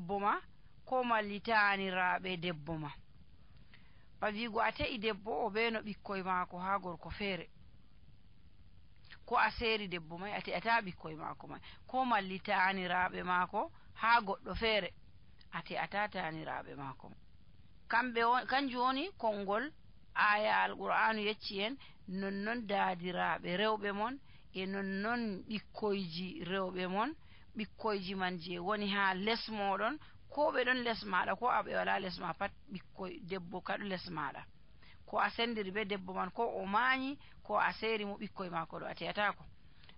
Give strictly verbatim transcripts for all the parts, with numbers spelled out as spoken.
debbo ma ko malli taaniraaɓe debbo ma. Ba wiigo a te'i debbo o ɓe no ɓikkoy maako haa gorko feere, ko a seeri debbo may a te'ataa ɓikkoy maako may, ko malli taaniraaɓe maako haa goɗɗo feere a te'ataa taaniraaɓe maako. Kamɓe on kanjum woni konngol aya alqur'anu yecci en nonnon daadiraaɓe rewɓe mon e nonnon ɓikkoyji rewɓe mon, ɓikkoyji man je woni haa les mooɗon, ko ɓe ɗon les maaɗa ko aɓe wala les ma pat ɓikkoy debbo kaɗo les maaɗa, ko a sendiri be debbo man ko o maañi ko a seeri mo ɓikkoy maako ɗo a te'atako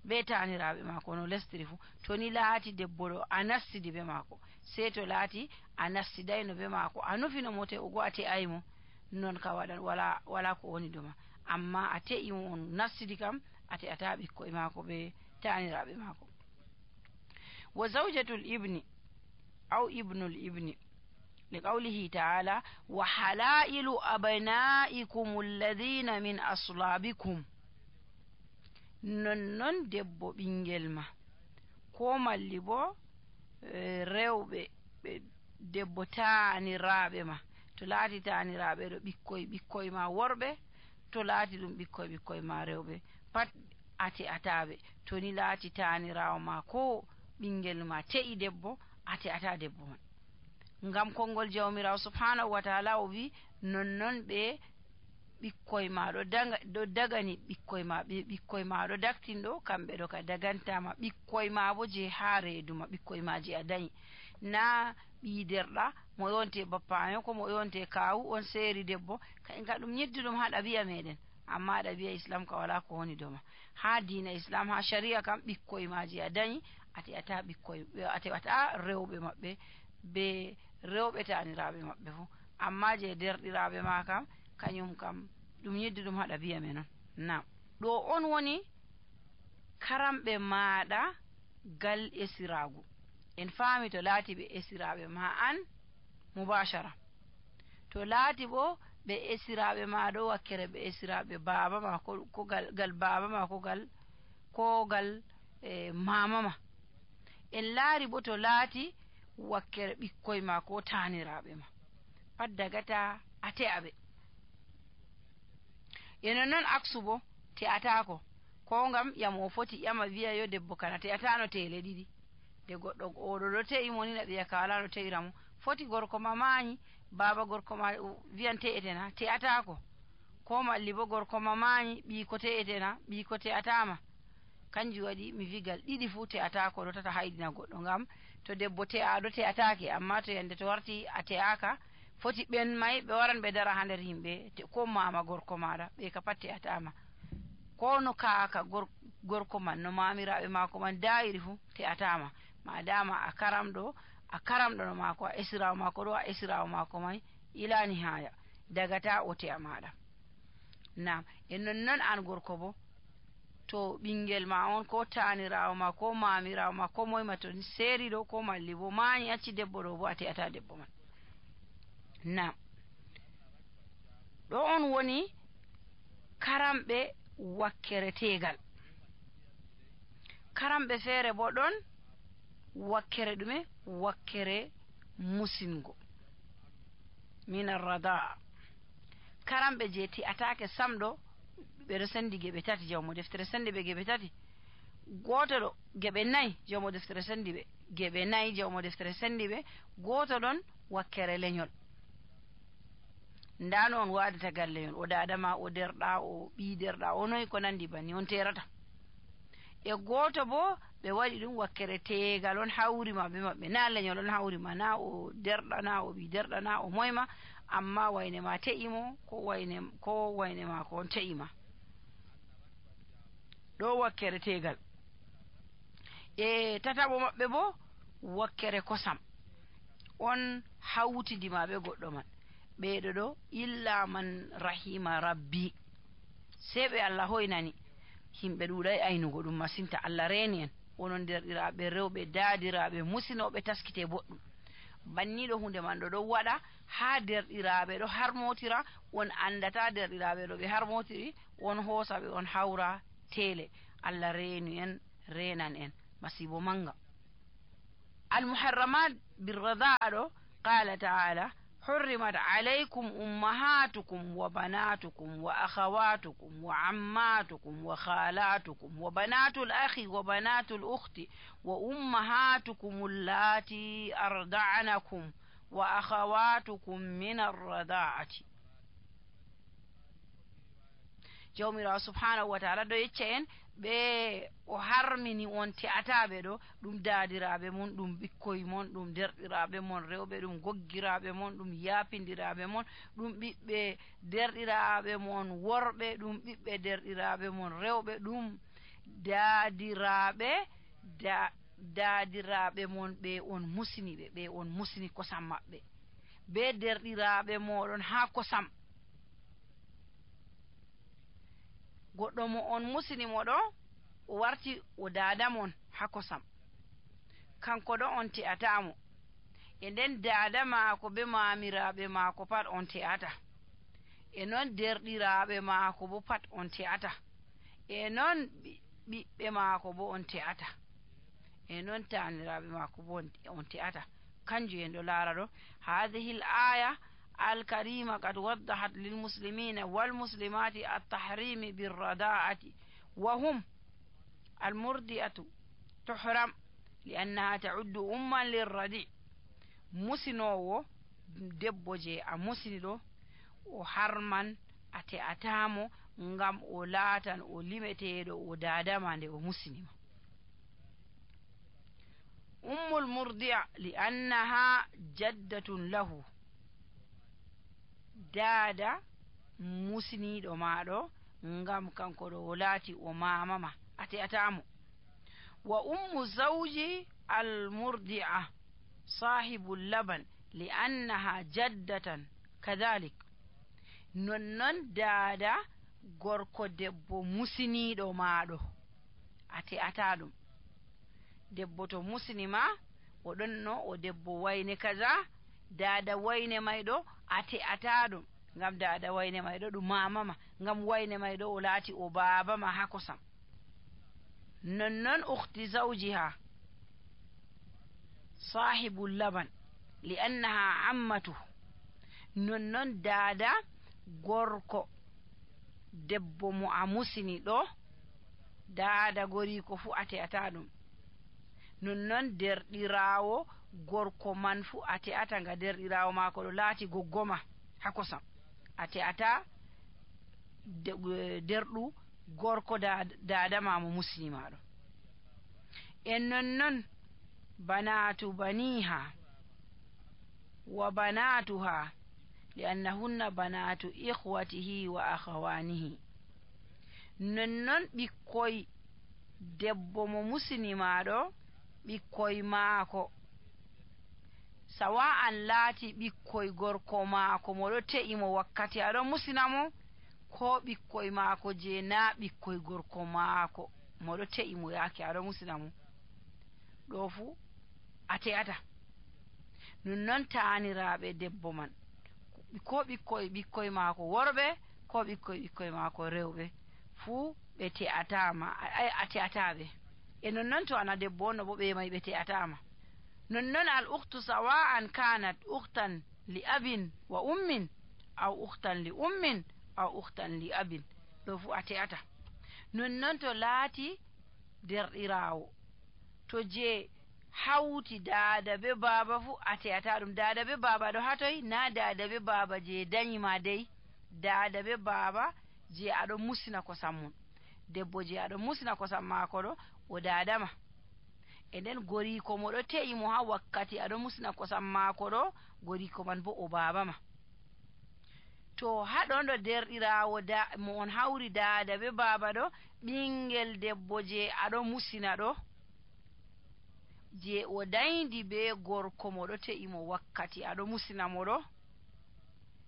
be taaniraaɓe maako no lestiri fu. To ni laati debbo ɗo a nastidi be maako, sey to laati a nastidayno be maako, a nufino mo te'ugo a te'aymo, non ka waɗan wala wala ko woni doma, amma a te'i mo on nastidi kam a te'ata ɓikkoy maako be taaniraaɓe maako. Wa zawjatul ibni aw ibnul ibni li qawlihi ta'ala wa halailu abnaikum alladhina min aslabikum, nonnon debbo ɓingel ma ko malli bo e, rewɓe ɓe debbo taaniraaɓe ma, to laati taaniraaɓe ɗo ɓikkoy ɓikkoy ma worɓe, to laati ɗum ɓikkoy ɓikkoy ma rewɓe pat a te'ataɓe. To ni laati taaniraawo ma ko ɓingel ma te'i debbo a te'ata debbo man, ngam konngol jawmirawo subhanahu wa ta'ala o wi nonnon ɓe ɓikkoy ma ɗo daga ɗo dagani ɓikkoy ma ɓe ɓikkoy ma ɗo daktinɗo kamɓe ɗo ka dagantama, ɓikkoy ma bo je haa reeduma, ɓikkoy ma je a dañi, na ɓii derɗa mo yonte bappayo ko mo yonte kawu on seeri debbo ka ɗum nyidduɗum ha ɗabi'a meɗen, amma ɗabi'a islam ka wala ko woni doma. Ha diina islam ha sharia kam ɓikkoy ma je a dañi a te'ata ɓikkoy a te'ata rewɓe maɓɓe be rewɓe taaniraaɓe maɓɓe fu, amma je derɗiraaɓe ma kam kañum kam ɗum yiddi ɗum haɗa biya men on. Nam ɗo on woni karamɓe maaɗa gal esiraagu, en faami to laati ɓe esiraaɓe ma an mubashara, to laati bo ɓe esiraaɓe ma ɗo wakkere ɓe esiraaɓe baaba ma ko, ko gal, gal baaba ma ko gal ko gal e mama ma, en laari bo to laati wakkere ɓikkoy ma ko taaniraaɓe ma pat dagata a te'aɓe. E nonnon aksu bo te'atako, ko ngam yamo foti ƴama wiya yo debbo kana te'atano tele ɗiɗi, de goɗɗo oɗo ɗo te'i mo ni na ɓiya ka wala no te'ira mo, foti gorko ma maañi baba gorko ma wiyan te'etena te'atako, ko malli bo gorko ma maañi ɓii ko te'etena ɓii ko te'atama, kanjum waɗi mi wigal ɗiɗi fu te'atako ɗo tata haydina goɗɗo, ngam to debbo te'aɗo te'atake, amma to yande to warti a te'aka foti ɓen may ɓe waran ɓe dara ha nder yimɓe ko mama gorko maɗa ɓe ka pat te'atama, ko no kaaka gor, gorko man no mamiraɓe mako man dayiri fu te'atama, madama a karamɗo a karamɗo no mako a esirawo mako ɗo a esirawo mako may ilani haya dagata o te'a maɗa. Nam e nonnon an gorko bo to ɓingel ma on ko taanirawo ma ko mamirawo ma ko moyma to seeri ɗo ko malli bo maañi acci debbo ɗo bo a te'ata debbo man. Nam ɗo on woni karamɓe wakkere tegal, karamɓe feere bo ɗon wakkere ɗume wakkere musingo min arrada, karamɓe je te'atake samɗo ɓeɗo sendi geɓe tati, jawmo deftere sendi ɓe geɓe tati, goto ɗo geɓe nayyi jawmo deftere sendi ɓe geɓe nayyi jawmo deftere sendi ɓe, goto ɗon wakkere leñol, ndano on wadata gal leñol, o dadama o derɗa o ɓii derɗa o noyi ko nandi banni on terata, e goto bo ɓe waɗi ɗum wakkere tegal on hawrima be maɓɓe, na leñol on hawrima, na o derɗa na o ɓii derɗa na o moyma, amma wayne ma te'imo ko wayne ko wayne ma ko on te'ima, ɗo wakkere tegal. E tataɓo maɓɓe bo wakkere kosam, on hawtidima ɓe goɗɗo man, ɓeɗo ɗo illa man rahima rabbi, sei ɓe Allah hoynani himɓe ɗuɗay aynugo ɗum masinta, Allah reni en, onon derɗiraɓe rewɓe daadiraɓe musinoɓe taskite boɗɗum, banniɗo hunde man ɗo ɗo waɗa ha derɗiraɓe ɗo harmotira, on andata derɗiraɓe ɗo ɓe harmotiri, on hoosa ɓe on hawra tele, Allah reni en renan en masibo manga. المحرمات بالرضاعة قال تعالى حرمت عليكم أمهاتكم وبناتكم وأخواتكم وعماتكم وخالاتكم وبنات الأخ وبنات الأخت وأمهاتكم اللاتي أرضعنكم وأخواتكم من الرضاعة. jawmirawo subhanahu wa ta'ala do yecca en ɓe o harmini on te'ataɓe ɗo ɗum daadiraɓe mon, ɗum ɓikkoye mon, ɗum derɗiraɓe mon rewɓe, ɗum goggiraɓe mon, ɗum yaapindiraɓe mon, ɗum ɓiɓɓe derɗiraɓe mon worɓe, ɗum ɓiɓɓe derɗiraɓe mon rewɓe, ɗum daadiraɓe da daadiraɓe mon ɓe on musiniɓe, ɓe on musini kosam maɓɓe, be derɗiraɓe moɗon ha kosam. goɗɗo mo on musinimo ɗo o warti o daada mon ha kosam, kanko ɗo on te'atamo, e nden daada maako be maamiraɓe maako pat on te'ata, e non derɗiraɓe maako bo pat on te'ata, e non ɓiɓɓe maako bo on te'ata, e non taaniraɓe maako bo on te'ata. kanjum en ɗo laara ɗo hadihi l aya الكريمة قد وضحت للمسلمين والمسلمات التحريم بالرضاعة وهم المرضعة تحرم لأنها تعد أما للرضيع. مسنو debbo je a musini ɗo o harman ate atamo ngam o laatan o limeteɗo o dadama nde o musinima. ummul murdi'a li annaha jaddatun lahu, daada musiniɗo maɗo ngam kanko ɗo o laati o mamama ate atamo. wa ummu zawji al murdi'a sahibu laban li annaha jaddatan kadhalik, nonnon daada gorko debbo musiniɗo maɗo ate ata ɗum. debbo to musinima o ɗonno o debbo wayne kaza, daada wayne mayɗo ate ata ɗum, ngam daada wayne mayɗo ɗum mamama, ngam wayne mayɗo o laati o babama ha kosam. nonnon ukhti zawjiha sahibul laban li annaha ammatu, nonnon daada gorko debbo mo a musini ɗo, daada goriko fu ate ata ɗum. nonnon derɗirawo gorko man fu ate ata, nga derɗirawo maako ɗo laati goggoma ha kosam, ate ata derɗu gorko daada ma mo musini maɗo. en nonnon banatu baniha wa banatuha li annahunna banatu ikhwatihi wa akhawanihi, nonnon ɓikkoy debbo mo musini maɗo, ɓikkoy maako sawa an laati ɓikkoy gorko maako moɗo te'i mo wakkati aɗo musina mo, ko ɓikkoy maako je na ɓikkoy gorko maako moɗo te'i mo yaake aɗo musina mo, ɗo fu a te'ata. nonnon taaniraɓe debbo man, ko ɓikkoy ɓikkoy maako worɓe, ko ɓikkoy ɓikkoy maako rewɓe, fuu ɓe te'atama, a te'ataɓe. e nonnon to ana debbo on no bo ɓe may ɓe te'atama. nonnon al ukhtu sawa'an kanat ukhtan li abin wa ummin aw ukhtan li ummin aw ukhtan li abin, ɗo fu a te'ata. nonnon to laati derɗirawo, to je hawti daada be baaba fu a te'ata ɗum. daada be baaba ɗo hatoy, na daada be baaba je danyima dey, daada be baaba je aɗo musina kosam mum. debbo je aɗo musina kosam maako ɗo o daadama, e nden goriko mo ɗo te'i mo ha wakkati aɗo musina kosam maako ɗo, goriko man bo o babama. to haɗon ɗo derɗirawo da mo on hawri daada be baaba ɗo, ɓingel debbo je aɗo musina ɗo, je o dayndi be gorko mo ɗo te'i mo wakkati aɗo musina mo ɗo,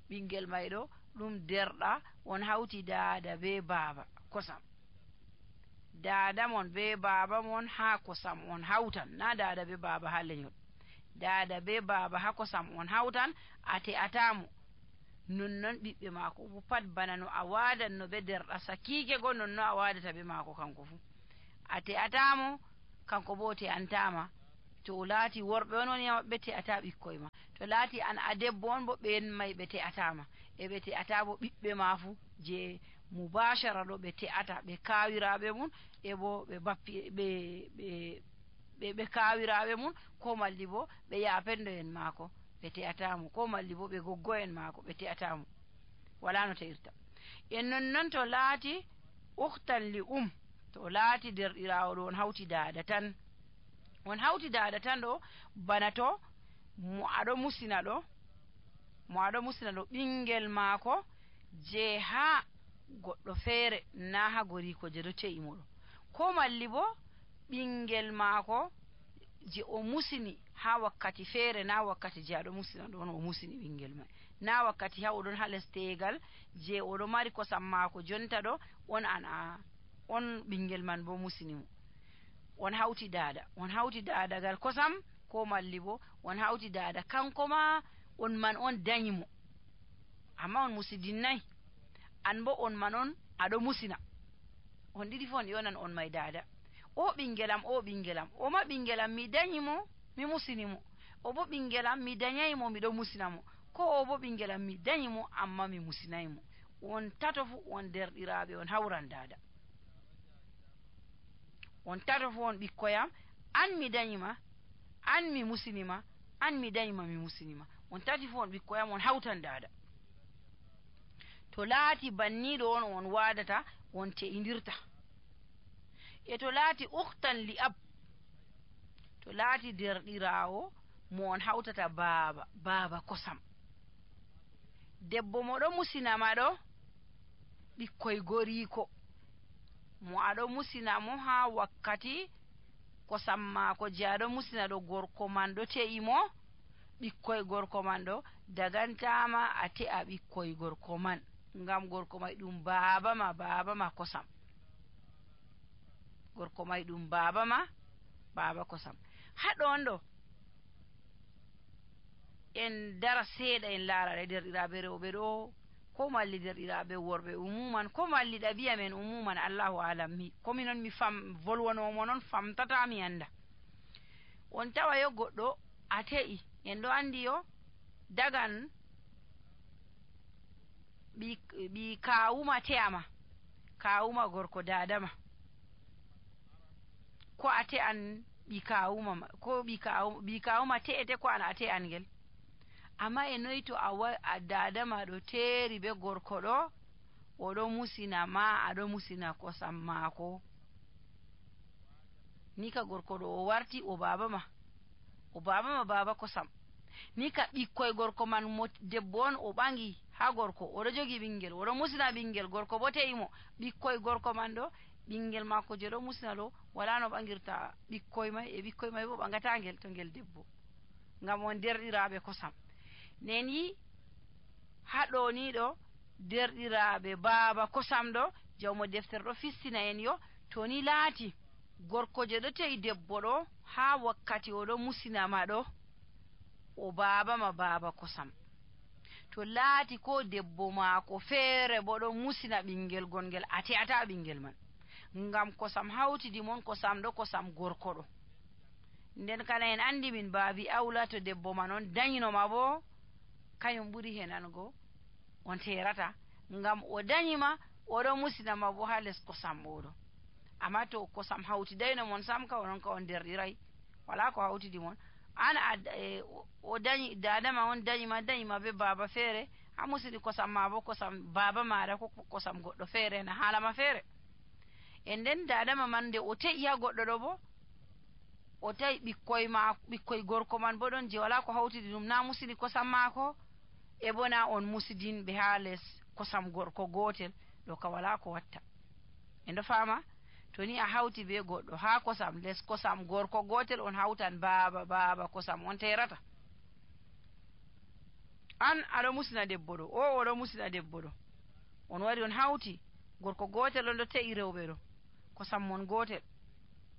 ɓingel may ɗo ɗum derɗa on hawti daada be baaba kosam. daada mon be baaba mon ha kosam on hawtan, na daada be baaba ha lenyol, daada be baaba ha kosam on hawtan, ate atamo. nonnon ɓiɓɓe maako fu pat bana no a wadan no be derɗa sakike go, nonno a wadata be maako kanko fu, ate atamo, kanko bo te antama. to laati worɓe on woni maɓɓe te'ata ɓikkoy ma, to laati an a debbo on bo ɓen may ɓe te'atama, e ɓe te'ata bo ɓiɓɓe ma fu je mubashara ɗo ɓe te'ata, ɓe kawiraɓe mum e bo ɓe bappi ɓe ɓe ɓe ɓe kawiraɓe mum, ko malli bo ɓe yapendo en maako ɓe te'atamo, ko malli bo ɓe goggo en maako ɓe te'atamo, wala no te'irta. en nonnon to laati ukhtan li um, to laati derɗirawo ɗo on hawti dada tan, on hawti dada tan ɗo, bana to mo aɗo musina ɗo mo aɗo musina ɗo ɓingel maako je ha goɗɗo feere na ha goriko je ɗo te'i mo ɗo, ko malli bo ɓingel maako je o musini ha wakkati feere na wakkati je aɗo musina ɗo on o musini ɓingel mai, na wakkati ha oɗon ha les tegal je oɗo mari kosam maako jonta ɗo on an a on ɓingel man bo musini mo, on hawti dada on hawti dadagal kosam, ko malli bo on hawti dada kanko ma on man on danyi mo, amma on musidinnai, an bo on man on aɗo musina, on ɗiɗi fu on yonan on mai dada. O ɓingelam o ɓingelam o ma ɓingelam mi danyi mo mi musini mo, o bo ɓingelam mi danyai mo miɗo musina mo, ko o bo ɓingelam mi danyi mo amma mi musinai mo, on tato fu on derɗiraɓe on hawran dada, on tato fu on ɓikkoyam, an mi danyima, an mi musinima, an mi danyima mi musinima, on tati fu on ɓikkoyam on hawtan dada. To laati banniɗo on on wadata on te'indirta. E to laati ukhtan li ab, to laati derɗirawo mo on hawtata baaba baaba kosam, debbo mo ɗo musinama ɗo ɓikkoy goriko, mo aɗo musina mo ha wakkati kosam maako je aɗo musina ɗo gorko man ɗo te'i mo, ɓikkoy gorko man ɗo dagantama a te'a ɓikkoy gorko man, ngam gorko may ɗum baaba ma baaba ma kosam, gorko may ɗum baaba ma baaba kosam. Haɗon ɗo en dara seeɗa en laara derɗiraɓe rewɓe ɗo, ko malli derɗiraɓe worɓe umuman, ko malli ɗabi'a men umuman, Allahu alam, mi komi noon mi fam volwanomo noon famtata mi anda. On tawa yo goɗɗo a te'i, en ɗo andi yo dagan ɓi ɓi kawuma te'ama, kawuma gorko dadama, ko a te'an ɓi kawuma ko ɓi kawu ɓi kawuma te'ete ko an a te'an ngel, amma e noyi to a wa a dadama ɗo teeri be gorko ɗo oɗo musina ma aɗo musina kosam maako, ni ka gorko ɗo o warti o baaba ma o baaba ma baaba kosam, ni ka ɓikkoy gorko man mo debbo on o ɓangi ha gorko oɗo jogi ɓingel oɗo musina ɓingel, gorko bo te'i mo, ɓikkoy gorko man ɗo ɓingel maako je ɗo musina ɗo wala no ɓangirta ɓikkoy may, e ɓikkoy may bo ɓangata ngel to ngel debbo, ngam on derɗiraɓe kosam. nden yi haɗo ni ɗo derɗiraɓe baaba kosam ɗo jawmo deftere ɗo fistina en yo, to ni laati gorko je ɗo te'i debbo ɗo ha wakkati oɗo musinama ɗo o baaba ma baaba kosam, to laati ko debbo maako feere bo ɗo musina ɓingel gongel a te'ata ɓingel man, ngam kosam hawtidi mon kosam ɗo kosam gorko ɗo, nden kana en andi min baabi awla to debbo man on danyinoma bo kañum ɓuri henango on terata, ngam o danyima oɗo musinama bo ha les kosam oɗo, amma to kosam hawtidayno mon sam ka onon ka on derɗiray, wala ko hawtidi mon, an a e, o dañi dadama on dañima dañima be baaba feere, ha musini kosam ma bo kosam baaba maɗa ko kosam goɗɗo feere na haalama feere, e nden dadama man nde o te'i ha goɗɗo ɗo bo o tawi ɓikkoy ma ɓikkoy gorko man bo ɗon je wala ko hawtidi ɗum na musini kosam maako, e bona on musidinɓe ha les kosam gorko gotel ɗo ka wala ko watta, en ɗo fama. To ni a hawti be goɗɗo ha kosam les kosam gorko gotel on hawtan baaba baaba kosam, on terata, an aɗo musina debbo ɗo, o oɗo musina debbo ɗo, on wari on hawti gorko gotel on ɗo te'i rewɓe ɗo kosam mon gotel,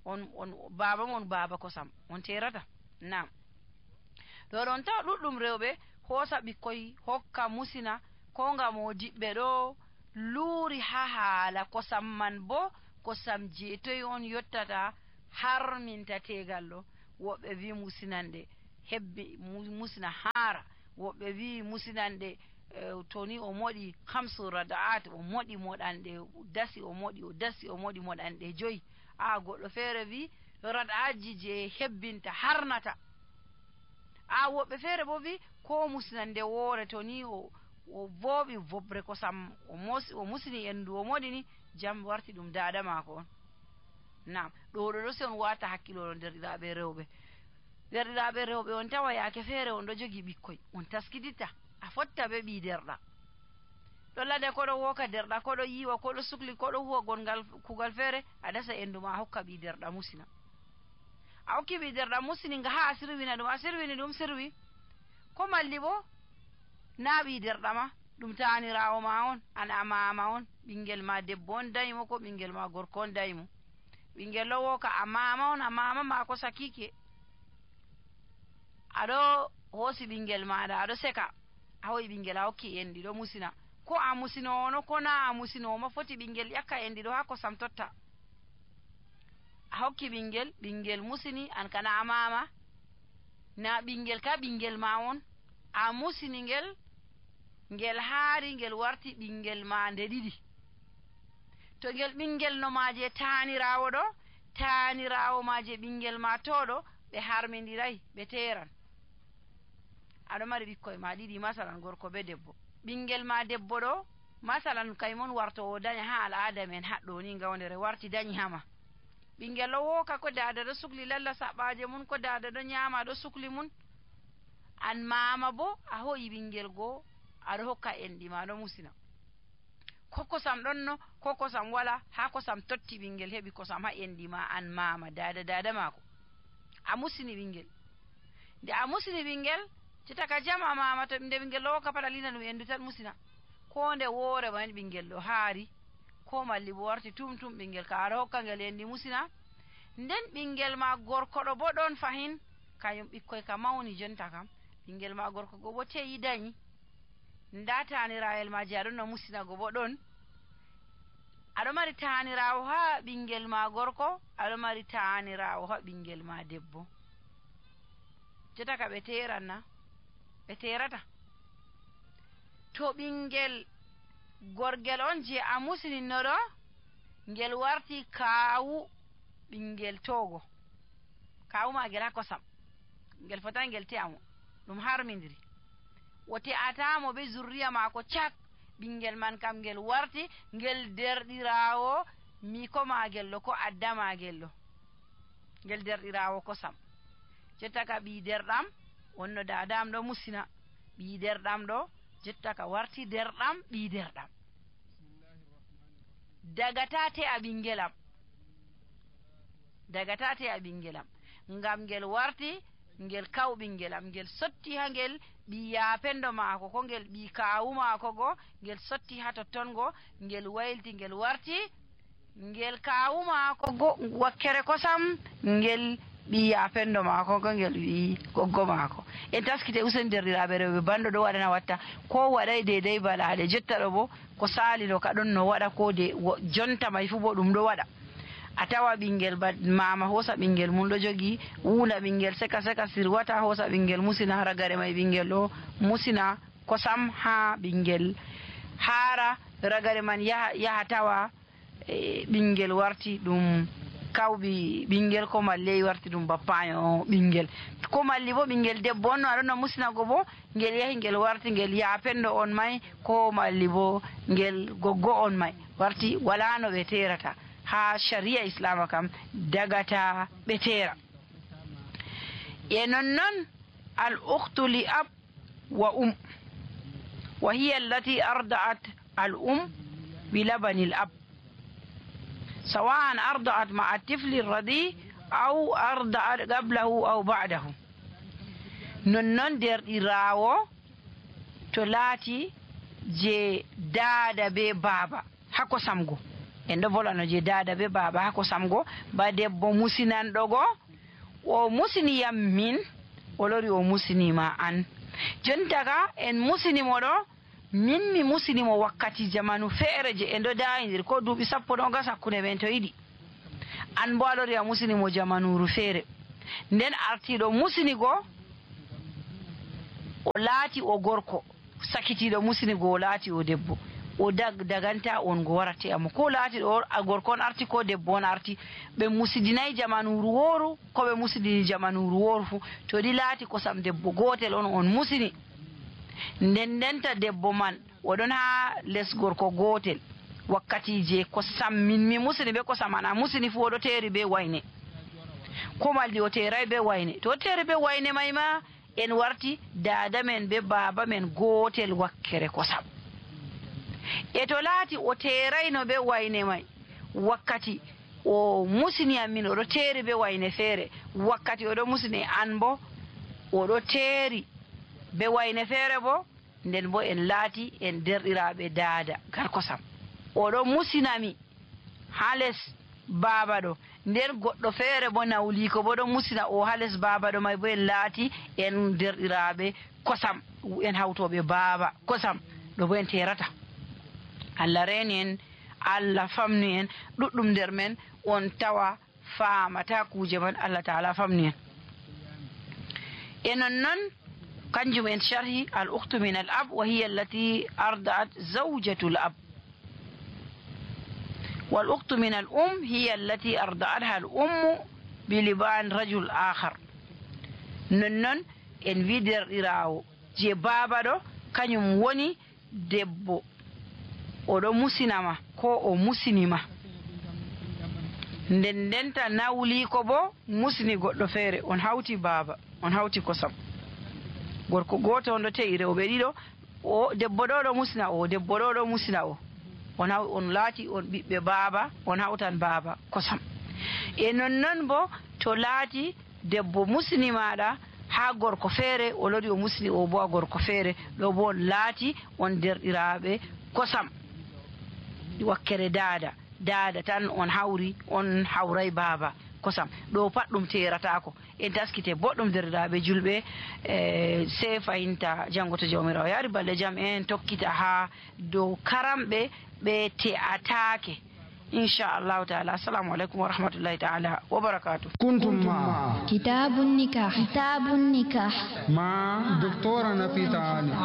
on on baaba mon baaba kosam, on terata. Nam ɗo ɗon tawa ɗuɗɗum rewɓe hoosa ɓikkoy hokka musina, ko ngam o diɓɓe ɗo luuri ha haala kosam man bo kosam jeetoy on yottata har minta tegal ɗo, woɓɓe wi musinande hebbi musina haara, woɓɓe wi musinande uh, to ni o moɗi hamsu rada'at o moɗi moɗanɗe dasi o moɗi o dasi o moɗi moɗanɗe joyi. a goɗɗo feere wi rada'atji je hebbinta harnata. a woɓɓe feere bo wi ko musinande woore to ni o o vooɓi vobre kosam o mosi o musini endu o moɗi ni jam warti ɗum dada maako on. nam ɗo ɗo ɗo si on wata hakkilo derɗiraɓe rewɓe derɗiraɓe rewɓe on tawa yaake feere on ɗo jogi ɓikkoy on taskititta a fotta be ɓi derɗa ɗo lade koɗo woka derɗa koɗo yiwa koɗo sukli koɗo huwa gongal kugal feere a dasa endu ma a hokka ɓi derɗa musina. a hokki ɓi derɗa musini nga ha a sirwina ɗum a sirwini ɗum sirwi ko malli bo na ɓi derɗa ma ɗum tanirawo ma on an a mama on ɓingel ma debbo on dayimo ko ɓingel ma gorko on dayimo ɓingel ɗo woka a mama on a mama ma ko sakike aɗo hoosi ɓingel maɗa aɗo seka a hoyi ɓingel a hokki enɗi ɗo musina ko a musinowo no ko na a musinowo ma foti ɓingel ƴakka enɗi ɗo ha kosam totta a hokki ɓingel ɓingel musini an kana a mama na ɓingel ka ɓingel ma on a musini ngel ngel haari ngel warti ɓingel ma nde ɗiɗi to ngel ɓingel no maje tanirawo ɗo tanirawo maje ɓingel ma toɗo ɓe harmidiray ɓe teran aɗo mari ɓikkoye ma ɗiɗi masalan gorko be debbo ɓingel ma debbo ɗo masalan kaymon warto o daña ha al'ada men haɗɗo ni gawdere warti dañi hama ɓingel ɗo woka ko dada ɗo sukli lalla saɓaje mun ko dada ɗo nyama ɗo sukli mun an mama bo a hoyi ɓingel goo aɗo hokka enɗi ma ɗo musina ko kosam ɗon no ko kosam wala ha kosam totti ɓingel heɓi kosam ha enɗi ma an mama dada dada mako a musini ɓingel nde a musini ɓingel citaka jam a mama to nde ɓingel ɗo woka pat a lina ɗum endu tan musina ko nde woore man ɓingel ɗo haari ko malli bo warti tum tum ɓingel ka aɗa hokka ngel enɗi musina nden ɓingel ma gorko ɗo bo ɗon fahin kañum ɓikkoy ka mawni jonta kam ɓingel ma gorko go bo teyi dañi nda tanirayel maji aɗon no musina go bo ɗon aɗo mari tanirawo ha ɓingel ma gorko aɗo mari tanirawo ha ɓingel ma debbo jotaka ɓe teranna ɓe terata to ɓingel gorgel on je a musininno ɗo ngel warti kaawu ɓingel togo kawu magel ha kosam ngel fotai ngel te'amo ɗum harmidiri o te'atamo be zurriya mako cak ɓingel man kam ngel warti ngel derɗirawo miko magel ɗo ko adda magel ɗo ngel derɗirawo kosam jottaka ɓi derɗam wonno dadam ɗo musina ɓi derɗam ɗo jottaka warti derɗam ɓi derɗam dagata te'a ɓingelam dagata te'a ɓingelam ngam ngel warti ngel kaw ɓingelam ngel sotti ha ngel ɓi yapendo maako ko ngel ɓi kawu maako go ngel sotti ha totton go ngel waylti ngel warti ngel kawu maako go wakkere kosam ngel ɓi yapendo maako go ngel ɓi goggo maako en taskite usen derɗiraɓe rewɓe bando ɗo waɗana watta ko waɗay dedai balaɗe jotta ɗo bo ko sali ɗo ka ɗon no waɗa ko de jonta may fu bo ɗum ɗo waɗa a tawa ɓingel ba mama hosa ɓingel mum ɗo jogi wula ɓingel seka seka sirwata hosa ɓingel musina ragare may ɓingel ɗo musina kosam ha ɓingel haara ragare man yaha yaha tawa e ɓingel warti ɗum kawɓi ɓingel ko malli warti ɗum bappayo ɓingel ko malli bo ɓingel debbo on no aɗon no musinago bo ngel yahi ngel warti ngel yapendo on may ko malli bo ngel goggo on may warti wala no ɓe terata ha sharia islama kam dagata ɓe tera e nonnon al ukhtu li ab wa um wa hiya allati arda'at al um bi labani al ab سواء أرضعت مع الطفل الرضيع أو أرضعت قبله أو بعده نونون در إراو تلاتي جي دادا بي بابا hako samgo en ɗo volano je dada be baba hako samgo ba debbo musinan ɗogo o musiniyam min o lori o musinima an jontaga en musinimo ɗo min mi musinimo wakkati jamanu feere je en ɗo dayidir ko duuɓi sappo ɗon gas hakkunde men to yiɗi an bo a lori a musinimo jamanuru feere nden artiɗo musinigo o laati o gorko, sakitiɗo musinigo o laati o debbo, o dag daganta on go warate amo ko laati ɗo a gorko on arti ko debbo on arti ɓe musidinayi jamanuru woru ko ɓe musidini jamanuru woru fu to ɗi laati kosam debbo gotel on on musini, nden ndenta debbo man oɗon ha les gorko gotel wakkati je kosam min mi musini be kosam an a musini fu oɗo teeri be wayne, ko maldi o teeray be wayne, to o teeri be wayne may ma en warti dada men be baba men gotel wakkere kosam. E to laati o teerayno be wayne may wakkati o musini am min oɗo teeri be wayne feere, wakkati oɗo musini an bo oɗo teeri be wayne feere bo, nden bo en laati en derɗiraɓe daada gar kosam. Oɗo musinami ha les baba ɗo, nden goɗɗo feere bo nawli ko bo ɗo musina o ha les baba ɗo may bo en laati en derɗiraɓe kosam, en hawtoɓe baba kosam ɗo bo en terata. Allah reeni en, Allah famni en, ɗuɗɗum nder men on tawa faamata kuje man, Allah taala famni en. E nonnon kanjum en sharhi al ukhtu min al ab wa hiya allati arda'at zawjatu al ab, wal ukhtu min al um hiya allati arda'atha al ummu bi liban rajul akhar. Nonnon en wi derɗirawo je baba ɗo kañum woni debbo oɗo musinama ko o musinima, nden ndenta nawli ko bo musini goɗɗo feere, on hawti baba on hawti kosam, gorko goto on ɗo te'i rewɓe ɗiɗo, o debbo ɗo ɗo musina o debbo ɗo ɗo musina o, on haw on laati on ɓiɓɓe baba on hawtan baba kosam. E nonnon bo to laati debbo musini maɗa ha gorko feere o lori o musini o bo a gorko feere, ɗo bo on laati on derɗiraɓe kosam wakkere dada dada tan on hawri, on hawray baba kosam, ɗo pat ɗum teratako. En taskite boɗɗum derɗiraɓe julɓe, e sey fayinta janngo to jawmirawo yaari balɗe jam en tokkita ha dow karamɓe ɓe te'atake inchallahu taala. Assalamu aleykum wa rahmatullahi taala wa barakatuh. كنتم مع كتاب النكاح كتاب النكاح مع دكتورة نفيسة علي.